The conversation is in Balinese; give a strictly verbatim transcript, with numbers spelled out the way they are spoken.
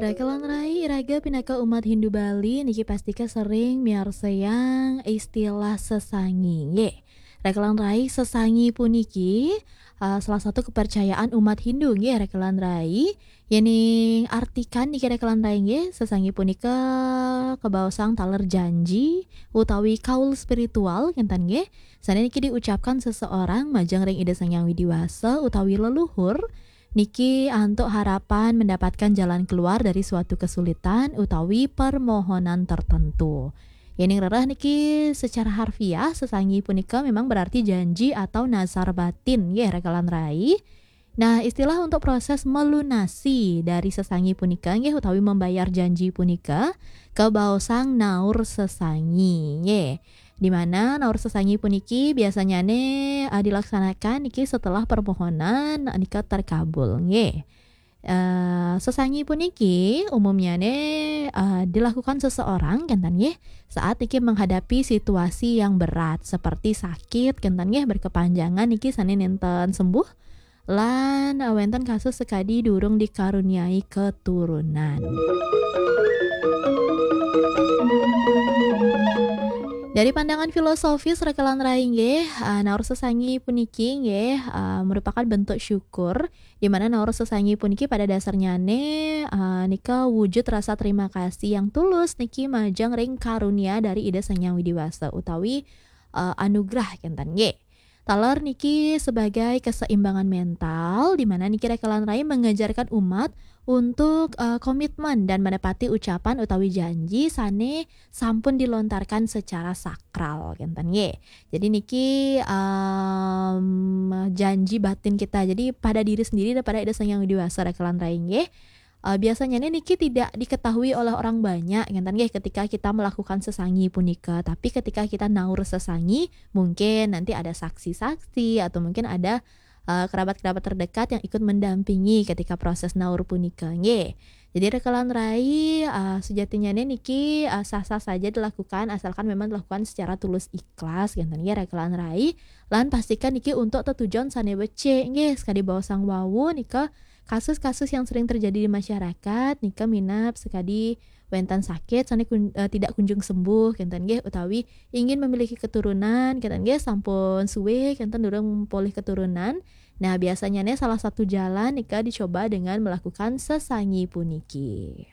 Rekelan rai, iraga pinaka umat Hindu Bali niki pastika sering miarsayang istilah sesangi, nggih. Rekelan rai, sesangi puniki, eh, salah satu kepercayaan umat Hindu, nggih, rekelan rai. Yening artikan niki rekelan rai, nggih, sesangi punika kabaosang taler janji utawi kaul spiritual, kinten, nggih. Sane niki diucapkan seseorang majeng ring Ida Sang Hyang Widi Wasa utawi leluhur, niki antuk harapan mendapatkan jalan keluar dari suatu kesulitan utawi permohonan tertentu. Yening rereh niki secara harfiah, sesangi punika memang berarti janji atau nazar batin, nggih, rekelan rai. Nah, istilah untuk proses melunasi dari sesangi punika, nggih, utawi membayar janji punika, kabaosang naur sesangi, nggih. Di mana naur sesangi puniki biasanyane, eh, dilaksanakan niki setelah permohonan nika terkabul, nggih. Eh, sesangi puniki umumnyane, eh, dilakukan seseorang, kinten, nggih, saat niki menghadapi situasi yang berat seperti sakit, kinten, nggih, berkepanjangan niki sane nenten sembuh, lan, eh, wenten kasus sakadi durung dikaruniai keturunan. Dari pandangan filosofis, rekelan rai, nggih, eh, naur sesangi puniki, nggih, eh, merupakan bentuk syukur, di mana naur sesangi puniki pada dasarnyane, eh, nika wujud rasa terima kasih yang tulus niki majeng ring karunia dari Ida Sang Hyang Widi Wasa utawi, eh, anugerah, kinten, nggih. Taler niki sebagai keseimbangan mental, di mana niki rekelan rai mengajarkan umat untuk, eh, komitmen dan menepati ucapan utawi janji sane sampun dilontarkan secara sakral, kinten, nggih. Jadi niki, em, janji batin kita. Jadi pada diri sendiri dan pada Ida Sang Hyang Widi Wasa, rekelan rai, nggih. Eh, biasanya ini niki tidak diketahui oleh orang banyak, kinten, nggih, ketika kita melakukan sesangi punika. Tapi ketika kita naur sesangi, mungkin nanti ada saksi-saksi atau mungkin ada, eh, kerabat-kerabat terdekat yang ikut mendampingi ketika proses naur punika, nggih. Jadi rekelan rai, eh, sejatinya niki, eh, sah-sah saja dilakukan asalkan memang dilakukan secara tulus ikhlas, kinten, nggih, rekelan rai. Lan pastikan niki untuk tetujon sane becik, nggih, sakadi baosang wau nika kasus-kasus yang sering terjadi di masyarakat nika minab sakadi wenten sakit sane kun-, eh, tidak kunjung sembuh, kinten, nggih, utawi ingin memiliki keturunan, kinten, nggih, sampun suwe kinten durung polih keturunan. Nah, biasanya ne salah satu jalan nika dicoba dengan melakukan sesangi puniki.